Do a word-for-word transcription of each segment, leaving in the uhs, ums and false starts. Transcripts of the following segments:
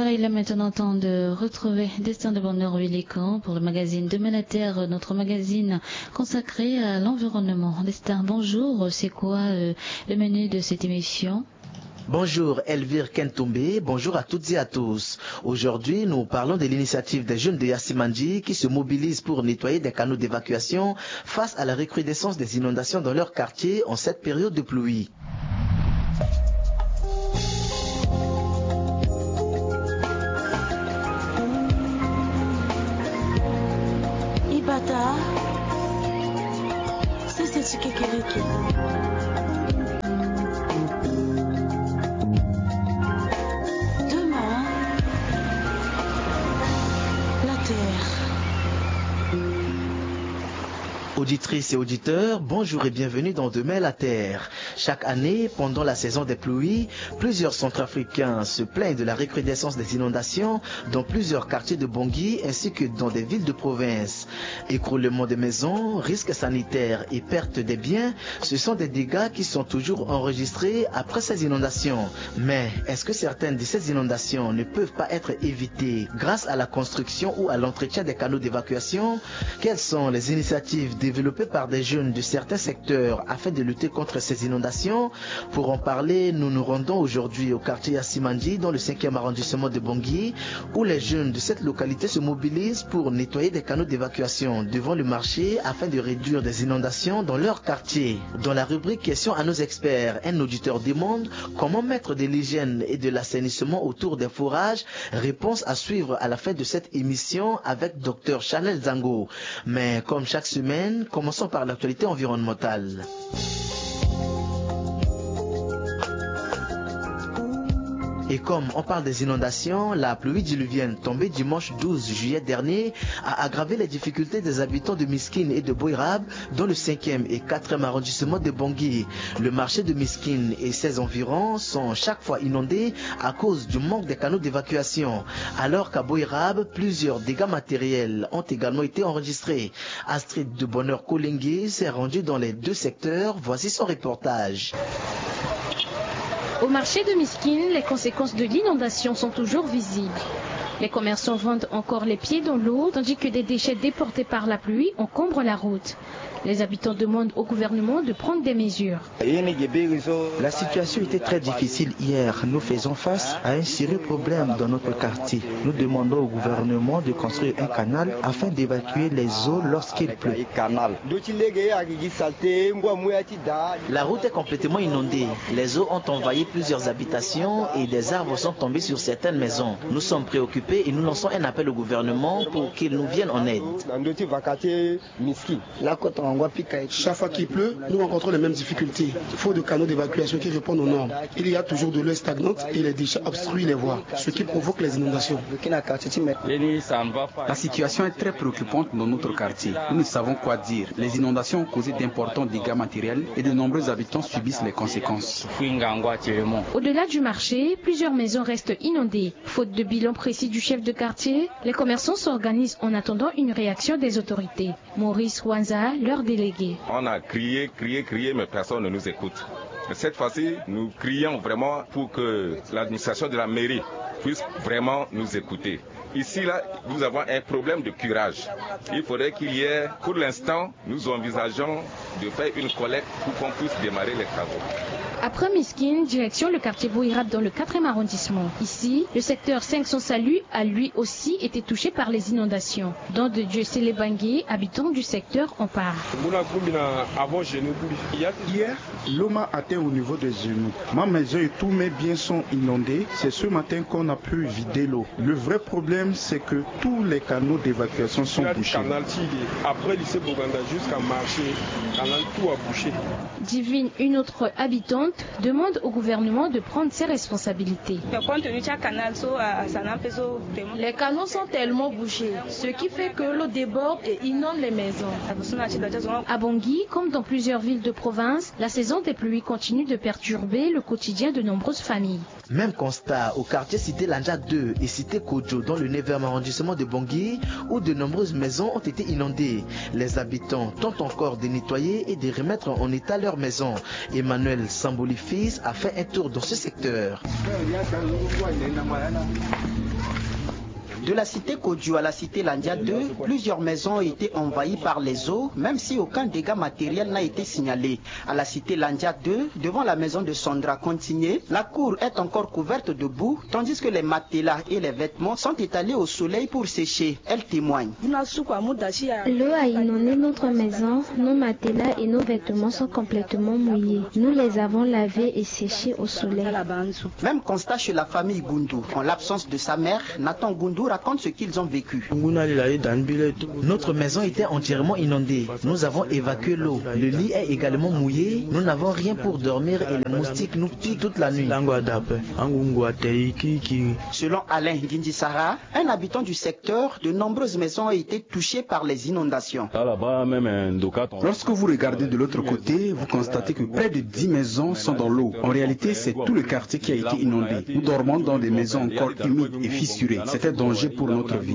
Voilà, il est maintenant temps de retrouver Destin de Bonheur Willican pour le magazine Demain la Terre, notre magazine consacré à l'environnement. Destin, bonjour. C'est quoi, euh, le menu de cette émission ? Bonjour Elvire Kentombe, bonjour à toutes et à tous. Aujourd'hui, nous parlons de l'initiative des jeunes de Yassimandji qui se mobilisent pour nettoyer des canaux d'évacuation face à la recrudescence des inondations dans leur quartier en cette période de pluie. Ibata, sese ti kekereke. Demain, la terre. Auditrices et auditeurs, bonjour et bienvenue dans Demain la Terre. Chaque année, pendant la saison des pluies, plusieurs Centrafricains se plaignent de la recrudescence des inondations dans plusieurs quartiers de Bangui ainsi que dans des villes de province. Écroulement des maisons, risques sanitaires et perte des biens, ce sont des dégâts qui sont toujours enregistrés après ces inondations. Mais est-ce que certaines de ces inondations ne peuvent pas être évitées grâce à la construction ou à l'entretien des canaux d'évacuation ? Quelles sont les initiatives développées par des jeunes de certains secteurs afin de lutter contre ces inondations ? Pour en parler, nous nous rendons aujourd'hui au quartier Yassimandji, dans le cinquième arrondissement de Bangui, où les jeunes de cette localité se mobilisent pour nettoyer des canaux d'évacuation devant le marché afin de réduire des inondations dans leur quartier. Dans la rubrique Questions à nos experts, un auditeur demande comment mettre de l'hygiène et de l'assainissement autour des forages. Réponse à suivre à la fin de cette émission avec Dr Chanel Zango. Mais comme chaque semaine, commençons par l'actualité environnementale. Et comme on parle des inondations, la pluie diluvienne tombée dimanche douze juillet dernier a aggravé les difficultés des habitants de Miskine et de Boirab dans le cinquième et quatrième arrondissement de Bangui. Le marché de Miskine et ses environs sont chaque fois inondés à cause du manque des canaux d'évacuation. Alors qu'à Boirab, plusieurs dégâts matériels ont également été enregistrés. Astrid de Bonheur Kolengue s'est rendue dans les deux secteurs. Voici son reportage. Au marché de Miskine, les conséquences de l'inondation sont toujours visibles. Les commerçants vendent encore les pieds dans l'eau, tandis que des déchets déportés par la pluie encombrent la route. Les habitants demandent au gouvernement de prendre des mesures. La situation était très difficile hier. Nous faisons face à un sérieux problème dans notre quartier. Nous demandons au gouvernement de construire un canal afin d'évacuer les eaux lorsqu'il pleut. La route est complètement inondée. Les eaux ont envahi plusieurs habitations et des arbres sont tombés sur certaines maisons. Nous sommes préoccupés et nous lançons un appel au gouvernement pour qu'il nous vienne en aide. Chaque fois qu'il pleut, nous rencontrons les mêmes difficultés. Faute de canaux d'évacuation qui répondent aux normes, il y a toujours de l'eau stagnante et les déchets obstruent les voies, ce qui provoque les inondations. La situation est très préoccupante dans notre quartier. Nous ne savons quoi dire. Les inondations ont causé d'importants dégâts matériels et de nombreux habitants subissent les conséquences. Au-delà du marché, plusieurs maisons restent inondées. Faute de bilan précis du chef de quartier, les commerçants s'organisent en attendant une réaction des autorités. Maurice Wanza, leur délégué. On a crié, crié, crié, mais personne ne nous écoute. Cette fois-ci, nous crions vraiment pour que l'administration de la mairie puisse vraiment nous écouter. Ici, là, nous avons un problème de curage. Il faudrait qu'il y ait, pour l'instant, nous envisageons de faire une collecte pour qu'on puisse démarrer les travaux. Après Miskine, direction le quartier Boirab dans le quatrième arrondissement. Ici, le secteur cinq cent Salut a lui aussi été touché par les inondations. Don de Dieu Selebangui, habitant du secteur, en parle. Hier, l'eau m'a atteint au niveau des genoux. Ma maison et tous mes biens sont inondés. C'est ce matin qu'on a pu vider l'eau. Le vrai problème, c'est que tous les canaux d'évacuation sont bouchés. Après lycée Boganda jusqu'à marché, canal, tout a bouché. Divine, une autre habitante, demande au gouvernement de prendre ses responsabilités. Les canaux sont tellement bouchés, ce qui fait que l'eau déborde et inonde les maisons. À Bangui, comme dans plusieurs villes de province, la saison des pluies continue de perturber le quotidien de nombreuses familles. Même constat au quartier Cité Landja deux et Cité Kodjo dans le neuvième arrondissement de Bangui, où de nombreuses maisons ont été inondées. Les habitants tentent encore de nettoyer et de remettre en état leurs maisons. Emmanuel Samboli fils a fait un tour dans ce secteur. De la cité Kodju à la cité Landia deux, plusieurs maisons ont été envahies par les eaux, même si aucun dégât matériel n'a été signalé. À la cité Landia deux, devant la maison de Sandra Continué, la cour est encore couverte de boue, tandis que les matelas et les vêtements sont étalés au soleil pour sécher. Elle témoigne. L'eau a inondé notre maison, nos matelas et nos vêtements sont complètement mouillés. Nous les avons lavés et séchés au soleil. Même constat chez la famille Goundou. En l'absence de sa mère, Nathan Goundou raconte ce qu'ils ont vécu. Notre maison était entièrement inondée. Nous avons évacué l'eau. Le lit est également mouillé. Nous n'avons rien pour dormir et les moustiques nous piquent toute la nuit. Selon Alain Ngindisara, un habitant du secteur, de nombreuses maisons ont été touchées par les inondations. Lorsque vous regardez de l'autre côté, vous constatez que près de dix maisons sont dans l'eau. En réalité, c'est tout le quartier qui a été inondé. Nous dormons dans des maisons encore humides et fissurées. C'est un danger pour notre vie.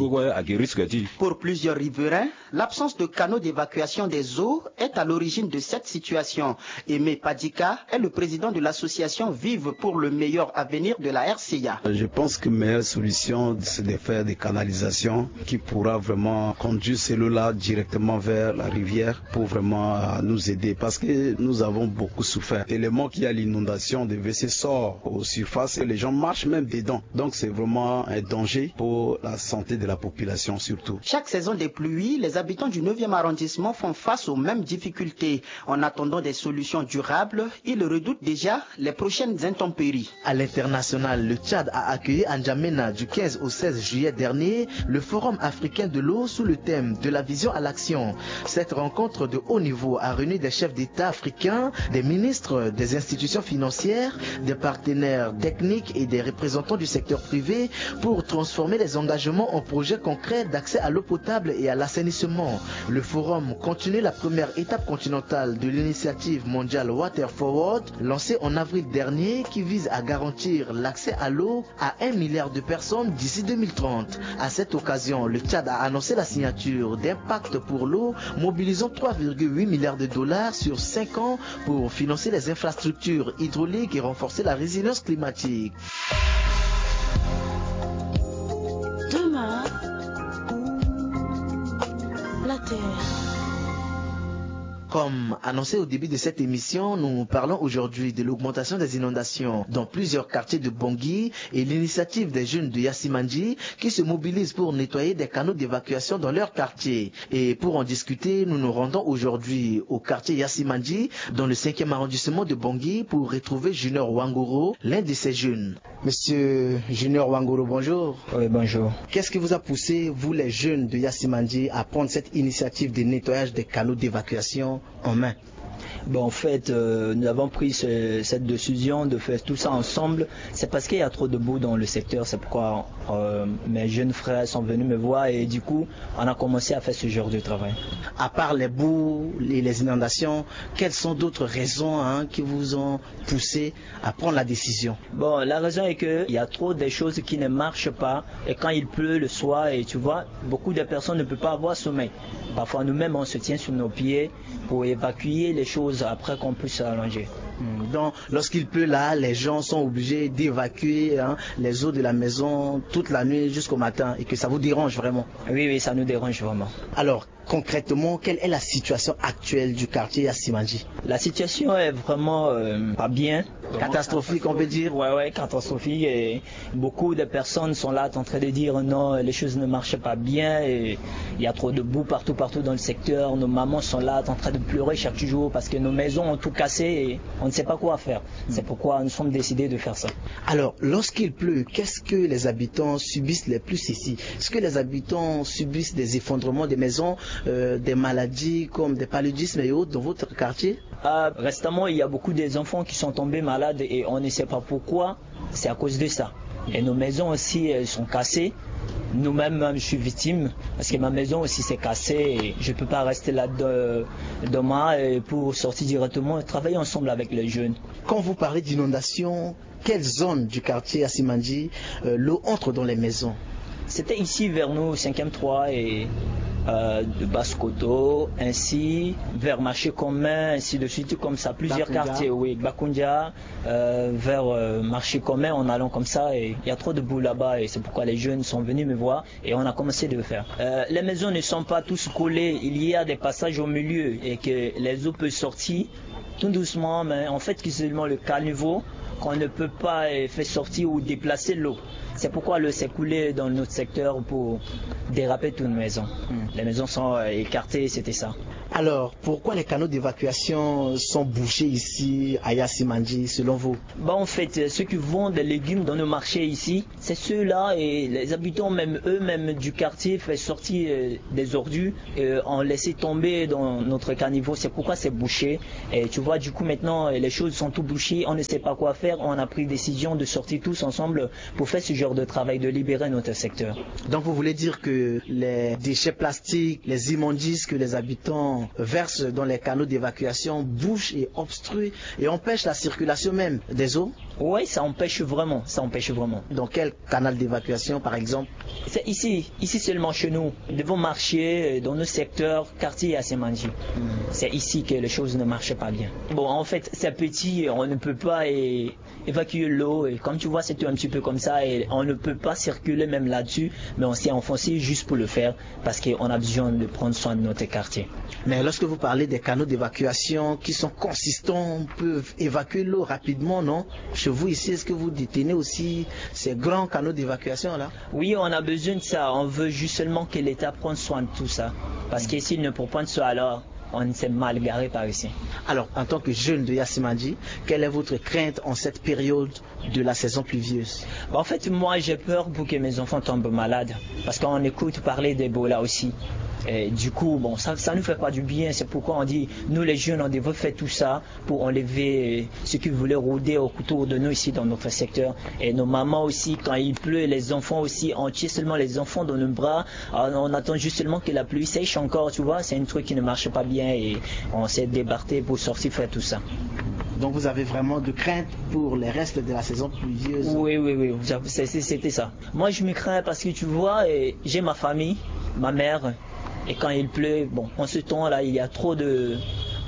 Pour plusieurs riverains, l'absence de canaux d'évacuation des eaux est à l'origine de cette situation. Aimé Padika est le président de l'association Vive pour le meilleur avenir de la R C A. Je pense que la meilleure solution, c'est de faire des canalisations qui pourra vraiment conduire ces eaux-là directement vers la rivière pour vraiment nous aider, parce que nous avons beaucoup souffert. Tellement qu'il y a l'inondation, des W C sortent aux surfaces et les gens marchent même dedans. Donc c'est vraiment un danger pour la santé de la population surtout. Chaque saison des pluies, les habitants du neuvième arrondissement font face aux mêmes difficultés. En attendant des solutions durables, ils redoutent déjà les prochaines intempéries. À l'international, le Tchad a accueilli à N'Djamena du quinze au seize juillet dernier le Forum africain de l'eau sous le thème de la vision à l'action. Cette rencontre de haut niveau a réuni des chefs d'État africains, des ministres, des institutions financières, des partenaires techniques et des représentants du secteur privé pour transformer les engagements en projets concrets d'accès à l'eau potable et à l'assainissement. Le forum continue la première étape continentale de l'initiative mondiale Water Forward, lancée en avril dernier, qui vise à garantir l'accès à l'eau à un milliard de personnes d'ici deux mille trente. À cette occasion, le Tchad a annoncé la signature d'un pacte pour l'eau mobilisant trois virgule huit milliards de dollars sur cinq ans pour financer les infrastructures hydrauliques et renforcer la résilience climatique. Demain, la Terre. Comme annoncé au début de cette émission, nous parlons aujourd'hui de l'augmentation des inondations dans plusieurs quartiers de Bangui et l'initiative des jeunes de Yassimandji qui se mobilisent pour nettoyer des canaux d'évacuation dans leur quartier. Et pour en discuter, nous nous rendons aujourd'hui au quartier Yassimandji, dans le cinquième arrondissement de Bangui, pour retrouver Junior Wangoro, l'un de ces jeunes. Monsieur Junior Wangoro, bonjour. Oui, bonjour. Qu'est-ce qui vous a poussé, vous les jeunes de Yassimandji, à prendre cette initiative de nettoyage des canaux d'évacuation en main ? Bon, en fait, euh, nous avons pris ce, cette décision de faire tout ça ensemble. C'est parce qu'il y a trop de boue dans le secteur. C'est pourquoi euh, mes jeunes frères sont venus me voir et du coup, on a commencé à faire ce genre de travail. À part les boues et les inondations, quelles sont d'autres raisons, hein, qui vous ont poussé à prendre la décision ? Bon, la raison est qu'il y a trop de choses qui ne marchent pas. Et quand il pleut le soir, et tu vois, beaucoup de personnes ne peuvent pas avoir sommeil. Parfois, nous-mêmes, on se tient sur nos pieds pour évacuer les choses après qu'on puisse s'allonger. Hmm. Donc, lorsqu'il pleut là, les gens sont obligés d'évacuer, hein, les eaux de la maison toute la nuit jusqu'au matin et que ça vous dérange vraiment ? Oui, oui, ça nous dérange vraiment. Alors, concrètement, quelle est la situation actuelle du quartier Yassimandji ? La situation est vraiment euh, pas bien. Catastrophique, on peut dire. Ouais, ouais, catastrophique. Et beaucoup de personnes sont là en train de dire non, les choses ne marchent pas bien. Et il y a trop de boue partout, partout dans le secteur. Nos mamans sont là en train de pleurer chaque jour parce que nos maisons ont tout cassé et on ne sait pas quoi faire. C'est pourquoi nous sommes décidés de faire ça. Alors, lorsqu'il pleut, qu'est-ce que les habitants subissent le plus ici ? Est-ce que les habitants subissent des effondrements des maisons, euh, des maladies comme des paludismes et autres dans votre quartier ? Ah, récemment, il y a beaucoup d'enfants qui sont tombés malades et on ne sait pas pourquoi. C'est à cause de ça. Et nos maisons aussi, elles sont cassées. Nous-mêmes, même, je suis victime parce que ma maison aussi s'est cassée. Et je ne peux pas rester là de, demain et pour sortir directement et travailler ensemble avec les jeunes. Quand vous parlez d'inondation, quelle zone du quartier Yassimandji, euh, l'eau entre dans les maisons ? C'était ici vers nous, cinquième trois, et euh, de Basse-Koto, ainsi vers Marché Commun, ainsi de suite, comme ça, plusieurs Bakoundia. Quartiers, oui, Bakoundia, euh, vers euh, Marché Commun, en allant comme ça, et il y a trop de boue là-bas, et c'est pourquoi les jeunes sont venus me voir, et on a commencé de le faire. Euh, les maisons ne sont pas tous collées, il y a des passages au milieu, et que les eaux peuvent sortir, tout doucement, mais en fait, c'est seulement le caniveau qu'on ne peut pas euh, faire sortir ou déplacer l'eau. C'est pourquoi l'eau s'est coulée dans notre secteur pour déraper toutes nos maisons. Hmm. Les maisons sont euh, écartées, c'était ça. Alors, pourquoi les canaux d'évacuation sont bouchés ici à Yassimandji, selon vous ? Bah, en fait, euh, ceux qui vendent des légumes dans nos marchés ici, c'est ceux-là et les habitants même eux-mêmes du quartier font sortir euh, des ordures, euh, ont laissé tomber dans notre caniveau. C'est pourquoi c'est bouché. Et tu vois, du coup, maintenant, euh, les choses sont tout bouchées. On ne sait pas quoi faire. On a pris décision de sortir tous ensemble pour faire ce genre de travail, de libérer notre secteur. Donc vous voulez dire que les déchets plastiques, les immondices que les habitants versent dans les canaux d'évacuation bouchent et obstruent et empêchent la circulation même des eaux ? Oui, ça empêche vraiment, ça empêche vraiment. Dans quel canal d'évacuation, par exemple ? C'est ici, ici seulement chez nous, devant marché, euh, dans nos secteurs, quartier Yassimandji. Hmm. C'est ici que les choses ne marchent pas bien. Bon, en fait, c'est petit, on ne peut pas euh, évacuer l'eau. Et comme tu vois, c'est un petit peu comme ça et on ne peut pas circuler même là-dessus, mais on s'est enfoncé juste pour le faire parce qu'on a besoin de prendre soin de notre quartier. Mais lorsque vous parlez des canaux d'évacuation qui sont consistants, peuvent évacuer l'eau rapidement, non ? Chez vous ici, est-ce que vous détenez aussi ces grands canaux d'évacuation là ? Oui, on a besoin de ça. On veut juste seulement que l'État prenne soin de tout ça. Parce que s'il ne prend pas de soin, alors on s'est mal garé par ici. Alors, en tant que jeune de Yassimandji, quelle est votre crainte en cette période de la saison pluvieuse ? Bah, en fait, moi, j'ai peur pour que mes enfants tombent malades. Parce qu'on écoute parler d'Ebola aussi. Et du coup, bon, ça, ça nous fait pas du bien. C'est pourquoi on dit, nous les jeunes, on devrait faire tout ça pour enlever euh, ceux qui voulaient rôder autour de nous ici dans notre secteur. Et nos mamans aussi, quand il pleut, les enfants aussi, on tient seulement les enfants dans nos bras. On attend juste seulement que la pluie sèche encore, tu vois. C'est un truc qui ne marche pas bien et on s'est débattu pour sortir faire tout ça. Donc vous avez vraiment de crainte pour les restes de la saison pluvieuse ? Oui, oui, oui, c'était ça. Moi, je me crains parce que tu vois, euh, j'ai ma famille, ma mère, et quand il pleut, bon, en ce temps-là, il y a trop de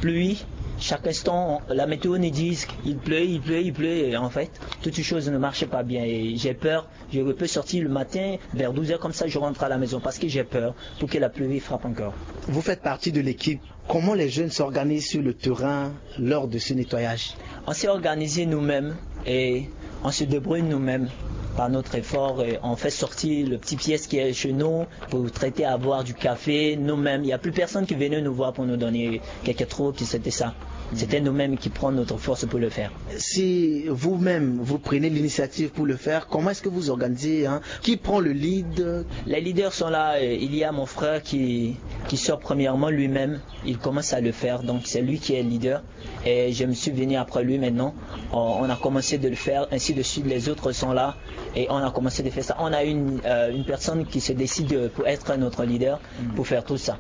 pluie. Chaque instant, la météo nous dit il pleut, il pleut, il pleut. Et en fait, toutes choses ne marchent pas bien. Et j'ai peur. Je peux sortir le matin vers douze heures comme ça, je rentre à la maison parce que j'ai peur pour que la pluie frappe encore. Vous faites partie de l'équipe. Comment les jeunes s'organisent sur le terrain lors de ce nettoyage ? On s'est organisé nous-mêmes et on se débrouille nous-mêmes par notre effort. Et on fait sortir le petit pièce qui est chez nous pour traiter à boire du café nous-mêmes. Il n'y a plus personne qui venait nous voir pour nous donner quelques trucs, c'était ça. C'était nous-mêmes qui prenons notre force pour le faire. Si vous-même, vous prenez l'initiative pour le faire, comment est-ce que vous organisez, hein ? Qui prend le lead ? Les leaders sont là. Euh, il y a mon frère qui, qui sort premièrement lui-même. Il commence à le faire. Donc, c'est lui qui est leader. Et je me suis venu après lui maintenant. On, on a commencé de le faire. Ainsi de suite, les autres sont là. Et on a commencé de faire ça. On a une, euh, une personne qui se décide pour être notre leader, pour faire tout ça.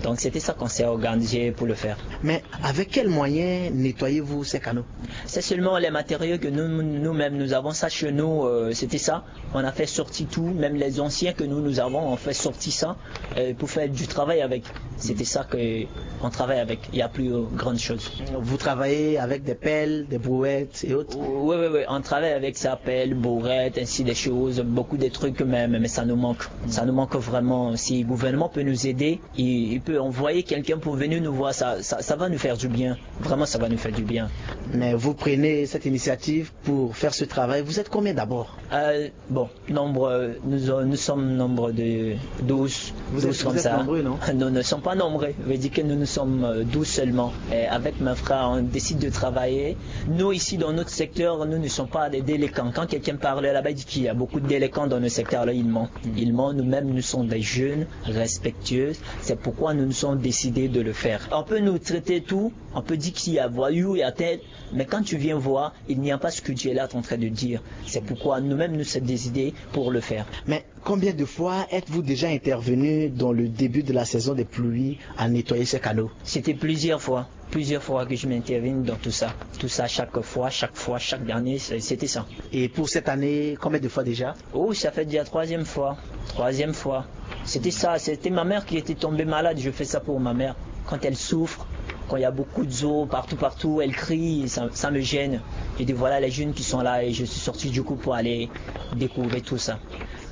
Donc, c'était ça qu'on s'est organisé pour le faire. Mais avec quels moyens nettoyez-vous ces canaux ? C'est seulement les matériaux que nous, nous-mêmes, nous avons ça chez nous. Euh, c'était ça. On a fait sortir tout. Même les anciens que nous, nous avons, on fait sortir ça euh, pour faire du travail avec. C'était ça que on travaille avec. Il n'y a plus euh, grande chose. Vous travaillez avec des pelles, des brouettes et autres ? Oui, oui, oui. On travaille avec ça, pelle, brouette, ainsi des choses. Beaucoup de trucs, mais, mais, mais ça nous manque. Ça nous manque vraiment. Si le gouvernement peut nous aider, il, il peut envoyer quelqu'un pour venir nous voir. Ça, ça, ça va nous faire du bien. Vraiment, ça va nous faire du bien. Mais vous prenez cette initiative pour faire ce travail. Vous êtes combien d'abord ? Euh, bon, nombre, nous, nous sommes nombre de douze. Vous êtes, douze comme vous êtes ça. Nombreux, non ? Nous ne sommes pas nombreux. Veut dire que nous, nous sommes euh, douze seulement. Et avec mon frère, on décide de travailler. Nous, ici, dans notre secteur, nous ne sommes pas des délinquants. Quand quelqu'un parle là-bas, il dit qu'il y a beaucoup de délinquants dans notre secteur. Là, il ment. Il ment. Nous-mêmes, nous sommes des jeunes respectueux. C'est pourquoi nous nous sommes décidés de le faire. On peut nous traiter tout. On peut dire qu'il y a voyou, il y a tel. Mais quand tu viens voir, il n'y a pas ce que tu es là en train de dire. C'est pourquoi nous-mêmes, nous sommes décidés pour le faire. Mais combien de fois êtes-vous déjà intervenu dans le début de la saison des pluies à nettoyer ces canaux ? C'était plusieurs fois. Plusieurs fois que je m'interviens dans tout ça. Tout ça, chaque fois, chaque fois, chaque année, c'est- c'était ça. Et pour cette année, combien de fois déjà ? Oh, ça fait déjà troisième fois. Troisième fois. C'était ça, c'était ma mère qui était tombée malade. Je fais ça pour ma mère. Quand elle souffre, quand il y a beaucoup d'eau partout, partout, elle crie, ça, ça me gêne. J'ai dit, voilà les jeunes qui sont là et je suis sorti du coup pour aller découvrir tout ça.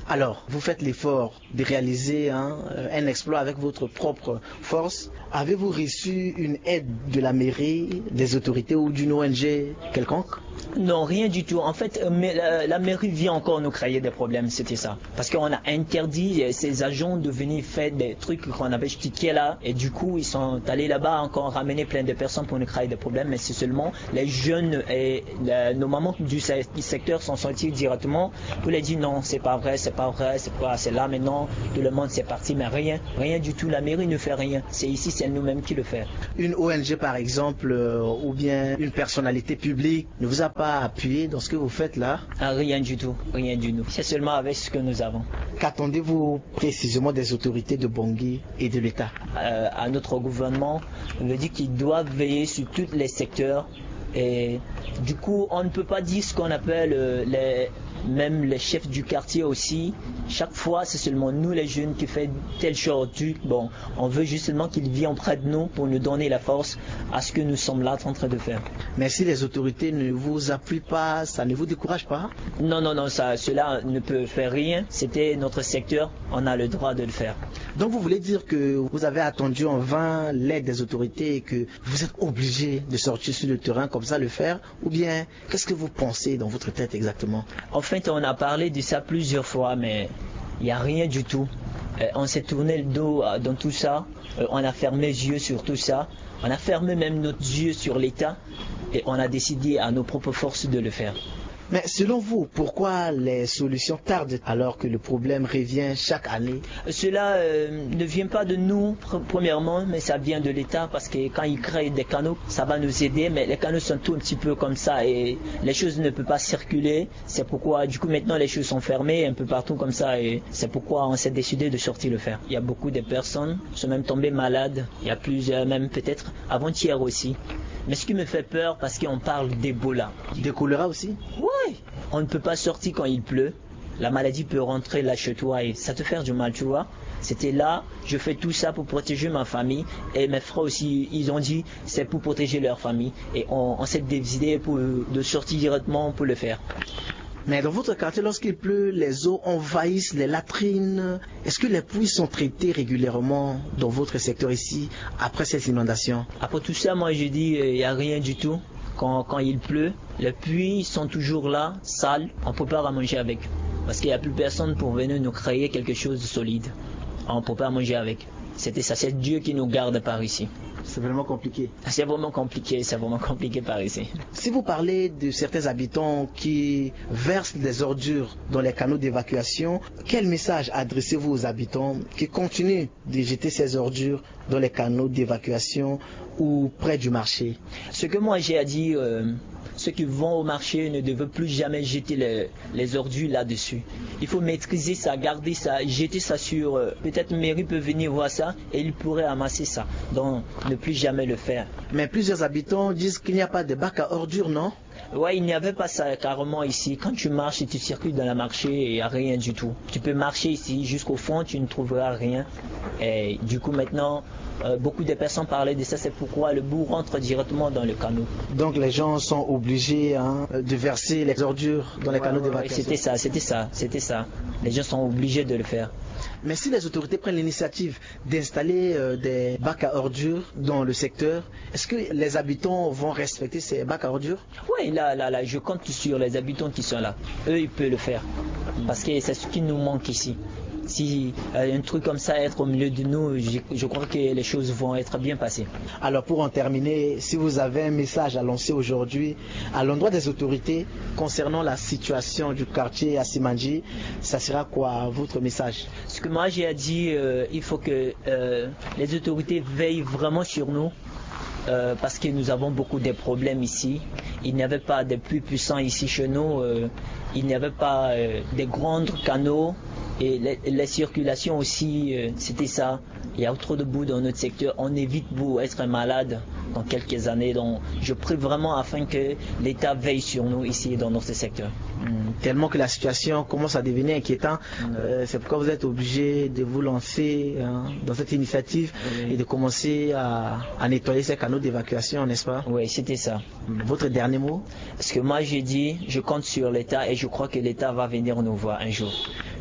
Alors, vous faites l'effort de réaliser, hein, un exploit avec votre propre force. Avez-vous reçu une aide de la mairie, des autorités ou d'une O N G quelconque ? Non, rien du tout. En fait, euh, mais la, la mairie vient encore nous créer des problèmes, c'était ça. Parce qu'on a interdit euh, ces agents de venir faire des trucs qu'on avait expliqués là. Et du coup, ils sont allés là-bas encore ramener plein de personnes pour nous créer des problèmes. Mais c'est seulement les jeunes et euh, nos mamans du, se- du secteur sont sortis directement pour leur dire non, c'est pas vrai, c'est pas vrai, c'est pas, c'est là maintenant, tout le monde s'est parti, mais rien, rien du tout. La mairie ne fait rien. C'est ici, c'est nous-mêmes qui le fait. Une O N G par exemple, euh, ou bien une personnalité publique ne vous a pas appuyé dans ce que vous faites là ? Ah, rien du tout, rien du tout. C'est seulement avec ce que nous avons. Qu'attendez-vous précisément des autorités de Bangui et de l'État ? Euh, à notre gouvernement, on veut dire qu'il doit veiller sur tous les secteurs. Et du coup, on ne peut pas dire ce qu'on appelle euh, les, même les chefs du quartier aussi. Chaque fois, c'est seulement nous les jeunes qui fait telle chose. Du- Bon, on veut justement qu'ils viennent près de nous pour nous donner la force à ce que nous sommes là en train de faire. Mais si les autorités ne vous appuient pas, ça ne vous décourage pas ? Non, non, non, ça, cela ne peut faire rien. C'était notre secteur, on a le droit de le faire. Donc vous voulez dire que vous avez attendu en vain l'aide des autorités et que vous êtes obligé de sortir sur le terrain comme ça le faire ? Ou bien qu'est-ce que vous pensez dans votre tête exactement ? En fait, on a parlé de ça plusieurs fois, mais il n'y a rien du tout. Euh, on s'est tourné le dos euh, dans tout ça. Euh, on a fermé les yeux sur tout ça. On a fermé même notre yeux sur l'État. Et on a décidé à nos propres forces de le faire. Mais selon vous, pourquoi les solutions tardent alors que le problème revient chaque année ? Cela euh, ne vient pas de nous, pr- premièrement, mais ça vient de l'État parce que quand ils créent des canaux, ça va nous aider, mais les canaux sont tout un petit peu comme ça et les choses ne peuvent pas circuler. C'est pourquoi, du coup, maintenant, les choses sont fermées un peu partout comme ça et c'est pourquoi on s'est décidé de sortir le faire. Il y a beaucoup de personnes qui sont même tombées malades. Il y a plusieurs, même peut-être avant-hier aussi. Mais ce qui me fait peur, parce qu'on parle d'Ebola. De choléra aussi ? Oui, on ne peut pas sortir quand il pleut. La maladie peut rentrer là chez toi et ça te fait du mal, tu vois. C'était là, je fais tout ça pour protéger ma famille et mes frères aussi, ils ont dit c'est pour protéger leur famille et on, on s'est décidé pour, de sortir directement pour le faire. Mais dans votre quartier, lorsqu'il pleut, les eaux envahissent les latrines. Est-ce que les puits sont traités régulièrement dans votre secteur ici après ces inondations ? Après tout ça, moi je dis, euh, il n'y a rien du tout. Quand, quand il pleut, les puits sont toujours là, sales, on ne peut pas manger avec. Parce qu'il n'y a plus personne pour venir nous créer quelque chose de solide. On ne peut pas manger avec. C'était ça, c'est Dieu qui nous garde par ici. C'est vraiment compliqué. C'est vraiment compliqué, c'est vraiment compliqué par ici. Si vous parlez de certains habitants qui versent des ordures dans les canaux d'évacuation, quel message adressez-vous aux habitants qui continuent de jeter ces ordures dans les canaux d'évacuation ou près du marché ? Ce que moi j'ai à dire, euh, ceux qui vont au marché ne devraient plus jamais jeter les, les ordures là-dessus. Il faut maîtriser ça, garder ça, jeter ça sur... euh, peut-être mairie peut venir voir ça et il pourrait amasser ça. Donc, ne plus jamais le faire. Mais plusieurs habitants disent qu'il n'y a pas de bac à ordures, non ? Ouais, il n'y avait pas ça carrément ici. Quand tu marches et tu circules dans le marché, il n'y a rien du tout. Tu peux marcher ici jusqu'au fond, tu ne trouveras rien. Et du coup, maintenant, euh, beaucoup de personnes parlaient de ça. C'est pourquoi le boue rentre directement dans le canal. Donc les gens sont obligés, hein, de verser les ordures dans les canaux d'évacuation. C'était ça, c'était ça, c'était ça. Les gens sont obligés de le faire. Mais si les autorités prennent l'initiative d'installer euh, des bacs à ordures dans le secteur, est-ce que les habitants vont respecter ces bacs à ordures ? Oui, là, là, là, je compte sur les habitants qui sont là. Eux, ils peuvent le faire. Parce que c'est ce qui nous manque ici. Si euh, un truc comme ça être au milieu de nous, je, je crois que les choses vont être bien passées. Alors pour en terminer, si vous avez un message à lancer aujourd'hui à l'endroit des autorités concernant la situation du quartier à Simanjiri, ça sera quoi votre message ? Ce que moi j'ai à dire, euh, il faut que euh, les autorités veillent vraiment sur nous. Euh, parce que nous avons beaucoup de problèmes ici. Il n'y avait pas de puits puissants ici chez nous. Euh, il n'y avait pas euh, de grands canaux. Et les, les circulations aussi, euh, c'était ça. Il y a trop de boue dans notre secteur. On évite pour être malade dans quelques années. Donc, je prie vraiment afin que l'État veille sur nous ici dans notre secteur. Hmm, tellement que la situation commence à devenir inquiétante, euh, c'est pourquoi vous êtes obligé de vous lancer, hein, dans cette initiative et de commencer à, à nettoyer ces canaux d'évacuation, n'est-ce pas ? Oui, c'était ça. Votre dernier mot ? Ce que moi j'ai dit, je compte sur l'État et je crois que l'État va venir nous voir un jour.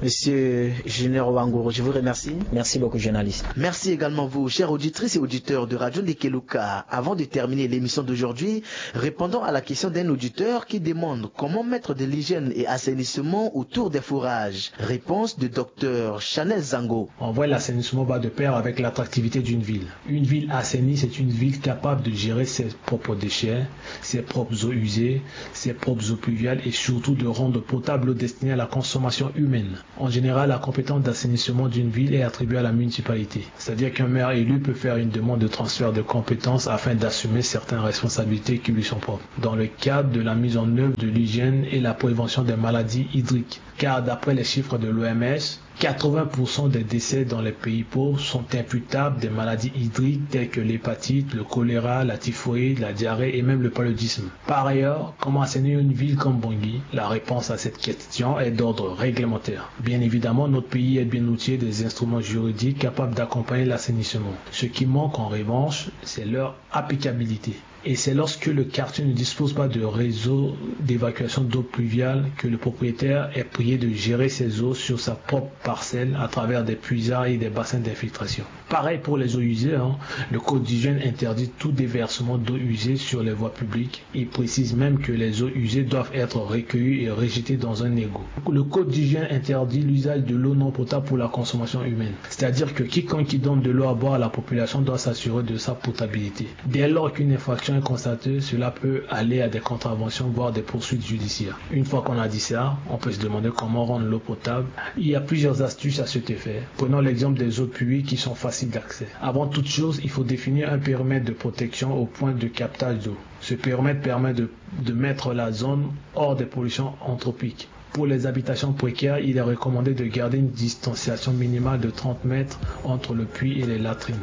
Monsieur Junior Wanguru, je vous remercie. Merci beaucoup, journaliste. Merci également vous, chères auditrices et auditeurs de Radio Ndekeluka. Avant de terminer l'émission d'aujourd'hui, répondons à la question d'un auditeur qui demande comment mettre de l'hygiène et assainissement autour des forages. Réponse de docteur Chanel Zango. En vrai, l'assainissement va de pair avec l'attractivité d'une ville. Une ville assainie, c'est une ville capable de gérer ses propres déchets, ses propres eaux usées, ses propres eaux pluviales et surtout de rendre potable l'eau destinée à la consommation humaine. En général, la compétence d'assainissement d'une ville est attribuée à la municipalité, c'est-à-dire qu'un maire élu peut faire une demande de transfert de compétences afin d'assumer certaines responsabilités qui lui sont propres, dans le cadre de la mise en œuvre de l'hygiène et la prévention des maladies hydriques. Car d'après les chiffres de l'O M S, quatre-vingts pour cent des décès dans les pays pauvres sont imputables des maladies hydriques telles que l'hépatite, le choléra, la typhoïde, la diarrhée et même le paludisme. Par ailleurs, comment assainir une ville comme Bangui ? La réponse à cette question est d'ordre réglementaire. Bien évidemment, notre pays est bien outillé des instruments juridiques capables d'accompagner l'assainissement. Ce qui manque en revanche, c'est leur applicabilité. Et c'est lorsque le quartier ne dispose pas de réseau d'évacuation d'eau pluviale que le propriétaire est prié de gérer ses eaux sur sa propre parcelle à travers des puisards et des bassins d'infiltration. Pareil pour les eaux usées, hein. Le code d'hygiène interdit tout déversement d'eau usée sur les voies publiques. Il précise même que les eaux usées doivent être recueillies et rejetées dans un égout. Le code d'hygiène interdit l'usage de l'eau non potable pour la consommation humaine. C'est-à-dire que quiconque qui donne de l'eau à boire à la population doit s'assurer de sa potabilité. Dès lors qu'une infraction est constatée, cela peut aller à des contraventions, voire des poursuites judiciaires. Une fois qu'on a dit ça, on peut se demander comment rendre l'eau potable. Il y a plusieurs astuces à cet effet. Prenons l'exemple des eaux de pluie qui sont faciles d'accès. Avant toute chose, il faut définir un périmètre de protection au point de captage d'eau. Ce périmètre permet de, de mettre la zone hors des pollutions anthropiques. Pour les habitations précaires, il est recommandé de garder une distanciation minimale de trente mètres entre le puits et les latrines.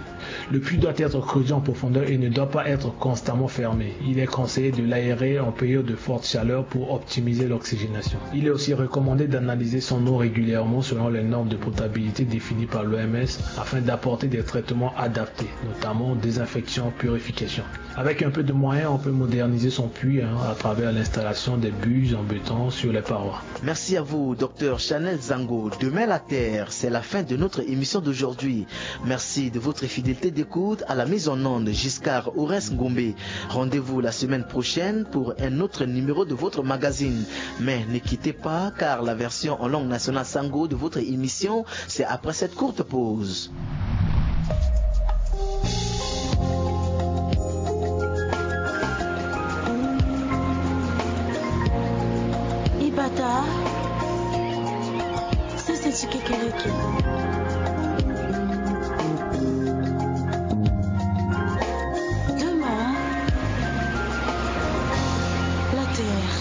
Le puits doit être creusé en profondeur et ne doit pas être constamment fermé. Il est conseillé de l'aérer en période de forte chaleur pour optimiser l'oxygénation. Il est aussi recommandé d'analyser son eau régulièrement selon les normes de potabilité définies par l'O M S afin d'apporter des traitements adaptés, notamment désinfection, purification. Avec un peu de moyens, on peut moderniser son puits, hein, à travers l'installation des buses en béton sur les parois. Merci à vous, docteur Chanel Zango. Demain la Terre, c'est la fin de notre émission d'aujourd'hui. Merci de votre fidélité d'écoute. À la mise en onde, Giscard Horace Ngombe. Rendez-vous la semaine prochaine pour un autre numéro de votre magazine. Mais ne quittez pas, car la version en langue nationale Sango de votre émission, c'est après cette courte pause. Ibata, sese ti kekereke. Demain, la terre.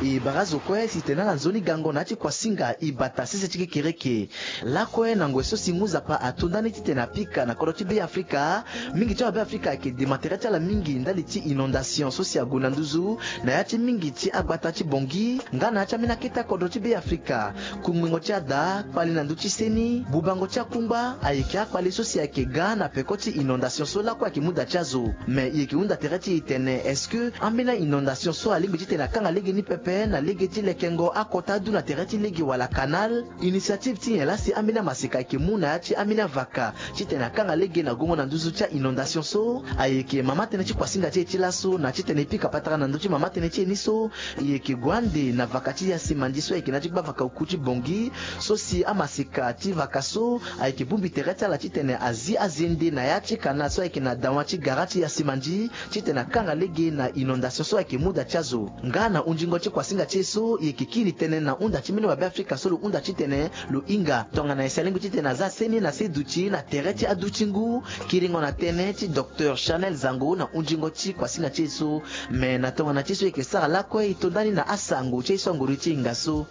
E bara zo kue si tene ala nzoni gango na ya ti kuasinga Ibata sese ti kekereke. Lakue na ngoi so si ngu Nzapa ato ndani titene apika na kodro ti Be Afrika, mingi ti awabe Afrika ayeke dema tere ti ala mingi ndali ti inondation so si ague na nduzu na ya ti mingi ti agbata ti Bangui nga na ya ti ambeni akete akodro ti Be Afrika. Kungbingo ti ada, kpale na ndö ti seni, bubango ti akungba ayeke akpale so si ayeke ga na peko ti inondation so lakue ayeke mu da ti azo. Me e yeke hunda tere ti e tene, est-ce que ambeni a-inondation so alingbi titene akanga lege ni pepe na lege ti lekengo akota adu na tere ti lege wala canal? Initiative ti nyen laa si ambeni amaseka ayeke mu na ya ti ambeni avaka titene akanga lege na gongo na nduzu ti a-inondation so? Ayeke mama tënë ti kuasinga ti e ti laso na titene e pika patara na ndö ti mama tënë ti e ni so. E yeke gue ande na vaka ti Yasimandi so ayeke na ya ti gbavaka oku ti Bangui, so si amaseka ti vaka so ayeke bongbi tere ti ala titene azi azende na ya ti canal so ayeke na dawa ti gara ti Yasimandi titene akanga lege na inondation so ayeke mu da ti azo. Nga na hunzingo ti kuasinga ti e so, e yeke kiri tënë na hunda ti mbeni wabe Afrika so lo hunda titene lo hinga. Tongana e si alingbi titene aza seni na se duti na tere ti adu ti ngu, kiringo na tënë ti docteur Chanel Zango na hunzingo ti kuasinga ti e so. Me na tongana ti so e yeke sara lakue, e to ndani na asango ti e so anguru ti hinga so.